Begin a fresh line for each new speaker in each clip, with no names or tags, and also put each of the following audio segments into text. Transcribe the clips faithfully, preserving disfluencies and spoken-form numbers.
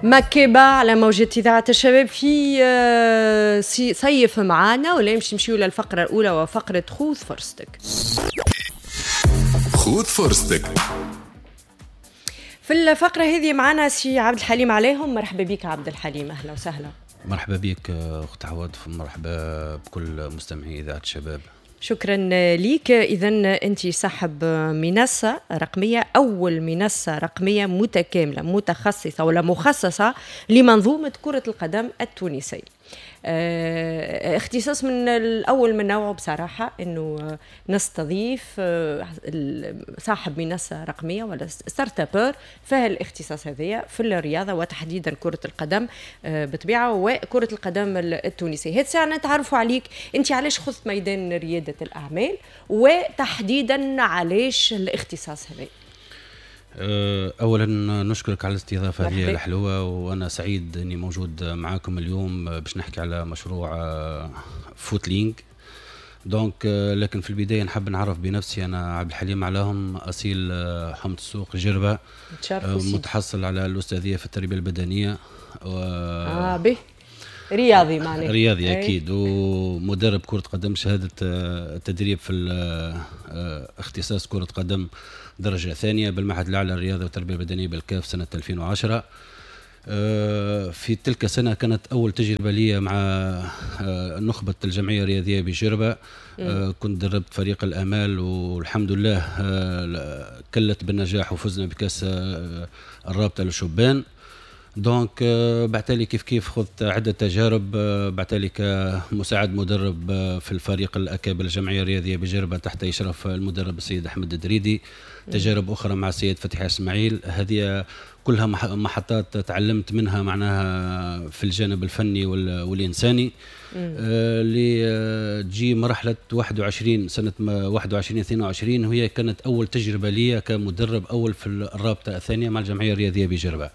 مكيبة على موجة إذاعة الشباب في آه، صيف معانا، ولا يمشي نمشيو للفقرة الأولى وفقرة خذ فرصتك.
خذ فرصتك.
في الفقرة هذه معنا سي عبد الحليم عليهم. مرحبا بك عبد الحليم، أهلا وسهلا.
مرحبا بك أخت عواطف، مرحبا بكل مستمعي إذاعة الشباب.
شكرا ليك. إذا أنت صاحب منصة رقمية، أول منصة رقمية متكاملة متخصصة ولا مخصصة لمنظومة كرة القدم التونسية. اه اختصاص من الأول من نوعه بصراحة، أنه نستضيف اه صاحب منصة رقمية ولا startuppeur فيها الاختصاص هذايا في الرياضة وتحديدا كرة القدم اه بطبيعة وكرة القدم التونسية. هاد الساعة نتعرفوا عليك أنت، علاش خذت ميدان ريادة الأعمال وتحديدا علاش الاختصاص هذا؟
اولا نشكرك على الاستضافة هذه الحلوه، وانا سعيد اني موجود معاكم اليوم باش نحكي على مشروع فوتلينغ. donc لكن في البداية نحب نعرف بنفسي، انا عبد الحليم علاهم، اصيل حومة السوق جربه، متحصل على الاستاذيه في التربية البدنية
و اه به رياضي معناها.
رياضي اكيد، ومدرب كره قدم، شهادة التدريب في اختصاص كره قدم درجة ثانية بالمعهد الأعلى للرياضة والتربية البدنية بالكاف سنة ألفين وعشرة. في تلك السنة كانت أول تجربة لي مع نخبة الجمعية الرياضية بجربة. كنت دربت فريق الأمال، والحمد لله كلت بالنجاح وفزنا بكأس الرابطة للشبان. donc بعتالي كيف كيف خذت عدة تجارب، بعتالي كمساعد مدرب في الفريق الأكابر الجمعية الرياضية بجربة تحت إشراف المدرب السيد أحمد الدريدي، تجارب أخرى مع السيد فتحي إسماعيل. هذه كلها محطات تعلمت منها معناها في الجانب الفني والإنساني. اللي آه تجي مرحلة واحد وعشرين، سنة واحد وعشرين اثنين وعشرين، وهي كانت أول تجربة لي كمدرب أول في الرابطة الثانية مع الجمعية الرياضية بجربة.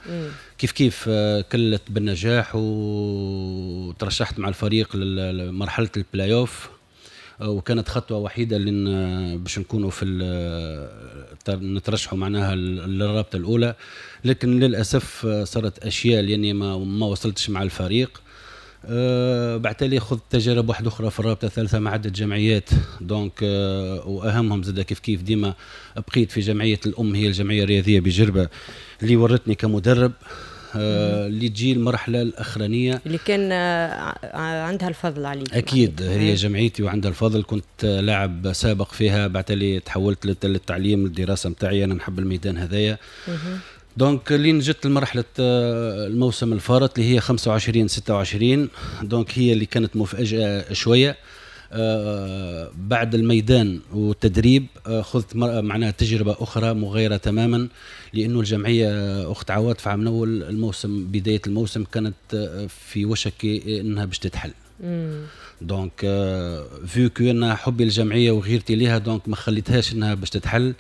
كيف كيف آه كلت بالنجاح وترشحت مع الفريق لمرحلة البلاي اوف، وكانت خطوة وحيده لن باش نكونوا في نترشحوا معناها للرابطة الاولى، لكن للاسف صارت اشياء لاني ما ما وصلتش مع الفريق. أه بعد خذت تجارب واحدة اخرى في الرابطة الثالثة مع عده جمعيات، donc أه واهمهم زاد كيف كيف ديما بقيت في جمعية الام، هي الجمعية الرياضية بجربه اللي ورتني كمدرب، آه، اللي تجي المرحلة الاخرانية.
اللي كان آه، عندها الفضل عليك.
اكيد، هي جمعيتي وعندها الفضل. كنت لاعب سابق فيها، بعد تحولت للتعليم، للدراسة نتاعي. انا نحب الميدان هذايا. donc لين جت لمرحلة آه، الموسم الفارط اللي هي خمسة وعشرين ستة وعشرين، donc هي اللي كانت مفاجاة شويه. آه بعد الميدان والتدريب آه خذت معناها تجربة أخرى مغايرة تماما، لأنه الجمعية أخت عواطف عام أول الموسم، بداية الموسم، كانت آه، في وشك أنها باش تتحل. donc vu que انا حبي للجمعية وغيرتي ليها، donc ما خليتهاش انها باش تتحل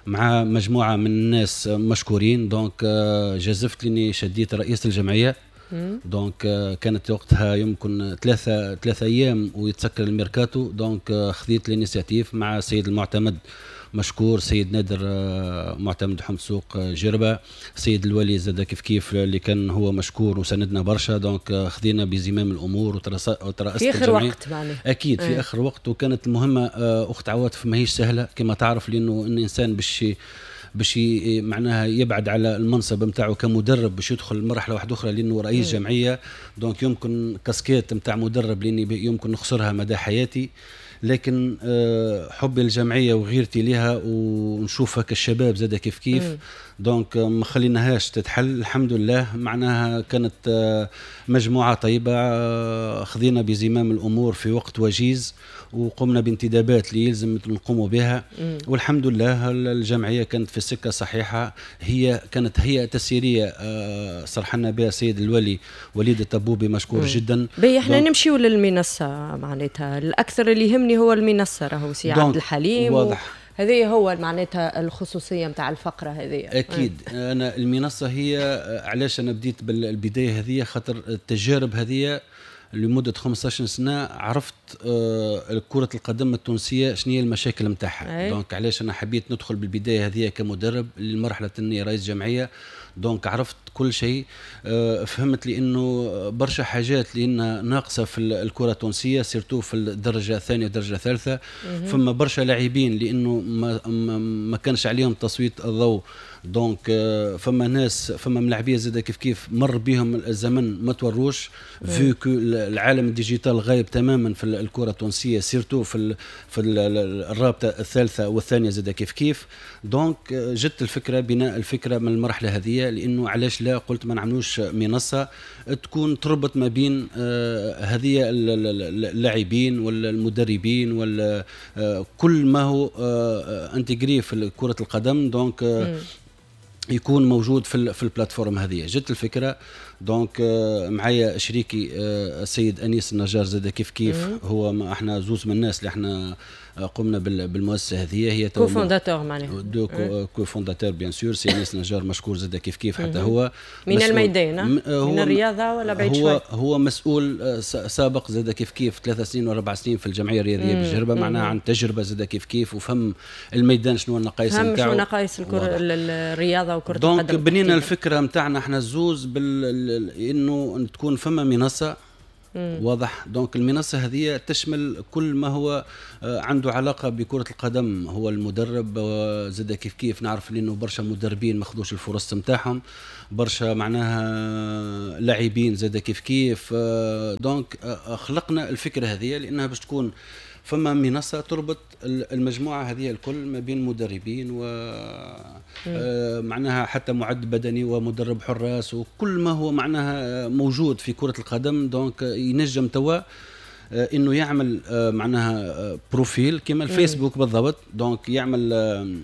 مع مجموعة من الناس مشكورين. donc جازفت لاني شديت رئيس الجمعيه. donc كانت وقتها يمكن ثلاثة ثلاثة ايام ويتسكر الميركاتو، donc خذيت l'initiative مع السيد المعتمد مشكور، سيد نادر آه، معتمد حومة سوق آه، جربة، سيد الولي زاد كيف كيف اللي كان هو مشكور وسندنا برشا. donc آه، خذينا بزمام الامور وترأست
في اخر وقت معناها.
اكيد، في اخر وقت. وكانت المهمة اخت عواطف ماهيش سهلة كما تعرف، لانه الانسان باش باش معناها يبعد على المنصب نتاعو كمدرب باش يدخل مرحلة واحدة اخرى لانه رئيس جمعيه، donc يمكن كاسكيت نتاع مدرب لاني يمكن نخسرها مدى حياتي. لكن آه، حبي للجمعية وغيرتي لها ونشوفها كالشباب زاد كيف كيف، donc ما خليناهاش تتحل. الحمد لله، معناها كانت آه، مجموعة طيبه، آه، خذينا بزمام الامور في وقت وجيز وقمنا بانتدابات اللي يلزم نقوموا بها، والحمد لله الجمعية كانت في السكة الصحيحه. هي كانت هيئة تسييريه صرحنا بها السيد الولي وليد الطبوبي مشكور مم. جدا.
باهي، احنا نمشيو للمنصه، معناتها الاكثر اللي يهمني هو المنصة راهو سي عبد الحليم.
واضح.
هذه هو معناتها الخصوصية نتاع الفقرة هذه.
اكيد. انا المنصة هي علاش انا بديت بالبداية هذه، خاطر التجارب هذه لمدة خمسطاش سنة عرفت آه، كره القدم التونسية شنو هي المشاكل نتاعها. donc علاش انا حبيت ندخل بالبداية هذه كمدرب لمرحلة اني رئيس جمعيه. donc عرفت كل شيء، آه، فهمت لانه برشا حاجات لان ناقصه في الكره التونسيه، surtout في الدرجة الثانية والدرجة الثالثه. فما برشا لاعبين لانه ما, ما كانش عليهم تسليط الضوء. donc آه، فما ناس، فما ملاعبيه زاد كيف كيف مر بهم الزمن ما توروش، vu que العالم ال digital غايب تماما في الكره التونسيه، surtout في في الرابطة الثالثة والثانية زاد كيف كيف. donc آه، جت الفكره، بناء الفكرة من المرحلة هذه، لانه علاش لا، قلت ما نعملوش منصة تكون تربط ما بين آه، هذه اللاعبين والمدربين ولا كل ما هو intégré في كره القدم، donc يكون موجود في في ال plateforme هذه. جت الفكره، donc آه، معايا شريكي آه، السيد انيس النجار زاد كيف كيف، هو ما احنا زوز من الناس اللي احنا آه، قمنا بالمؤسسه هذه.
هي cofondateurs معناها.
deux cofondateurs bien sûr. سي انيس النجار مشكور زاد كيف كيف، حتى هو
من الميدان، هو من الرياضة ولا بعيد
هو شوي؟ هو مسؤول سابق زاد كيف كيف ثلاث سنين واربع سنين في الجمعية الرياضية بالجربه، معناها عن تجربه زاد كيف كيف، وفهم الميدان شنو النقائص
نتاعو، فهم شنو نقائص الرياضة وكره
القدم. donc بنينا الفكرة نتاعنا احنا الزوز بال انه تكون فما منصه، مم. واضح. donc المنصة هذه تشمل كل ما هو آه، عنده علاقة بكره القدم، هو المدرب زاد كيف كيف، نعرف لانه برشا مدربين ما خذوش الفرص نتاعهم، برشا معناها لاعبين زاد كيف كيف. آه، donc آه، خلقنا الفكرة هذه لانها باش تكون فما منصة تربط المجموعة هذه الكل ما بين مدربين و آه، معناها حتى معد بدني ومدرب حراس وكل ما هو معناها موجود في كره القدم. donc ينجم توا آه، انه يعمل آه، معناها profil كما الفيسبوك بالضبط، donc يعمل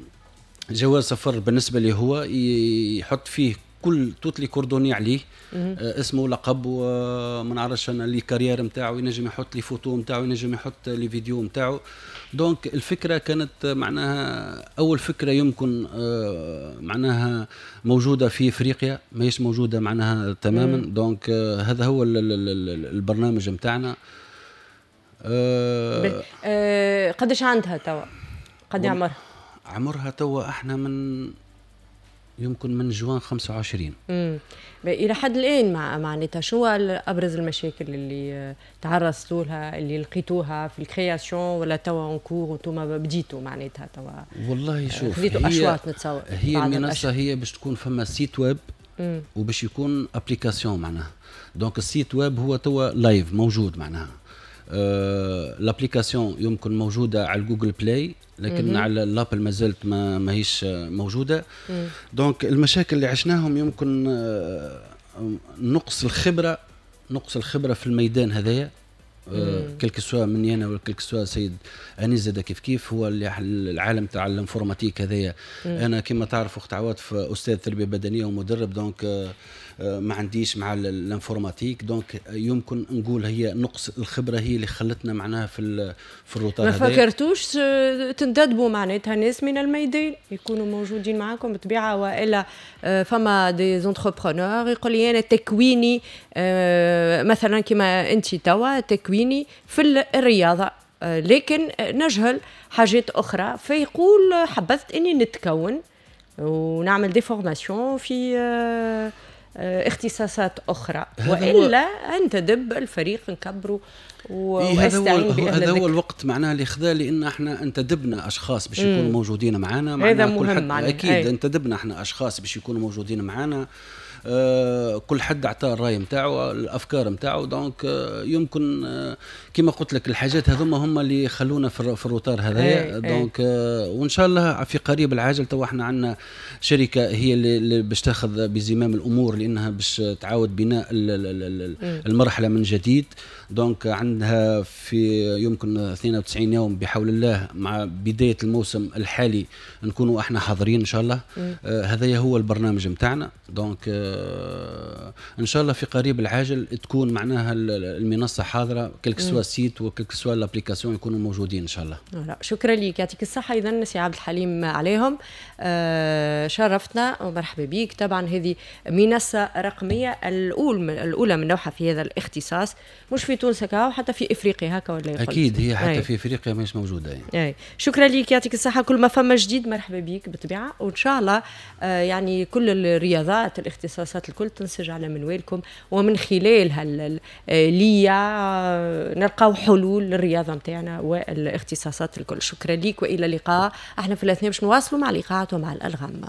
جواز سفر بالنسبة لي هو، يحط فيه كل toutes les coordonnées عليه، آه اسمه، لقب، وما نعرفش انا، les carrières نتاعو، ينجم يحط les photos نتاعو، ينجم يحط les vidéos نتاعو. donc الفكرة كانت معناها اول فكرة يمكن آه معناها موجودة في افريقيا، ماهيش موجودة معناها تماما. donc آه هذا هو البرنامج نتاعنا.
آه آه قداش عندها توا؟ قد عمرها؟
عمرها توا احنا من يمكن من جوان خمسة وعشرين.
امم الى حد الان مع معناتها شو ابرز المشاكل اللي تعرضتوا لها، اللي لقيتوها في ال création ولا توا en cours وانتم بديتوا معناتها توا؟
والله شوف،
خذيتوا اشواط نتصور.
هي المنصة هي باش تكون فما site web وباش يكون application معناها. donc ال site web هو توا live موجود، معناها آه l'application يمكن موجودة على Google Play، لكن مم. على ال Apple ما زالت ما ماهيش موجوده. donc المشاكل اللي عشناهم يمكن آه نقص الخبره، نقص الخبرة في الميدان هذايا، quel que soit مني انا ولا quel que soit سيد انيس زاد كيف كيف، هو اللي العالم تاع ال informatique هذايا. انا كما تعرف اخت عواطف استاذ تربيه بدنية ومدرب، donc آه، آه، ما عنديش مع ال informatique. donc يمكن نقول هي نقص الخبرة هي اللي خلتنا معناها في في ال retard.
ما فكرتوش تنتدبوا معناتها ناس من الميدان يكونوا موجودين معاكم بالطبيعه، والا آه، فما des entrepreneurs يقول لي انا تكويني مثلا كما انت توا تكويني في الرياضة لكن نجهل حاجات اخرى، فيقول حبذت اني نتكون ونعمل des formations في آه، آه، اختصاصات اخرى، والا انتدب الفريق نكبروا.
إيه هذا هو هذا هو الوقت معناها اللي خذا، لان احنا انتدبنا اشخاص باش يكونوا موجودين معنا.
هذا مهم.
معناها اكيد أي. انتدبنا احنا اشخاص باش يكونوا موجودين معنا، آه، كل حد اعطاه الراي نتاعو، الافكار نتاعو. donc آه، يمكن آه، كما قلت لك الحاجات هذوما هما اللي خلونا في في ال retard هذايا. donc وان شاء الله في قريب العاجل، تو احنا عندنا شركة هي اللي باش تاخذ بزمام الامور، لانها باش تعاود بناء المرحلة من جديد. donc عندها في يمكن اثنين وتسعين يوم بحول الله مع بداية الموسم الحالي نكونوا احنا حاضرين ان شاء الله. آه هذا هو البرنامج نتاعنا. donc آه ان شاء الله في قريب العاجل تكون معناها المنصة حاضره، quel que soit site و quelle que soit l'application يكونوا موجودين ان شاء الله.
لا، شكرا لك، يعطيك الصحه. اذا سي عبد الحليم عليهم، آه شرفتنا ومرحبا بك. طبعا هذه منصة رقمية الاول الاولى من نوعها في هذا الاختصاص، مش في تونس كهو، حتى في افريقيا هكا ولا؟
اكيد، هي حتى أي. في افريقيا مش موجودة
يعني. أي. شكرا لك، يعطيك الصحه. كل ما فما جديد مرحبا بك بالطبيعه، وان شاء الله آه يعني كل الرياضات، الاختصاصات الكل تنسج على منوالكم، ومن خلال ليا نلقاو حلول للرياضة نتاعنا والاختصاصات الكل. شكرا لك والى اللقاء. احنا في الاثناء باش نواصلوا مع اللقاءات ومع الالغام.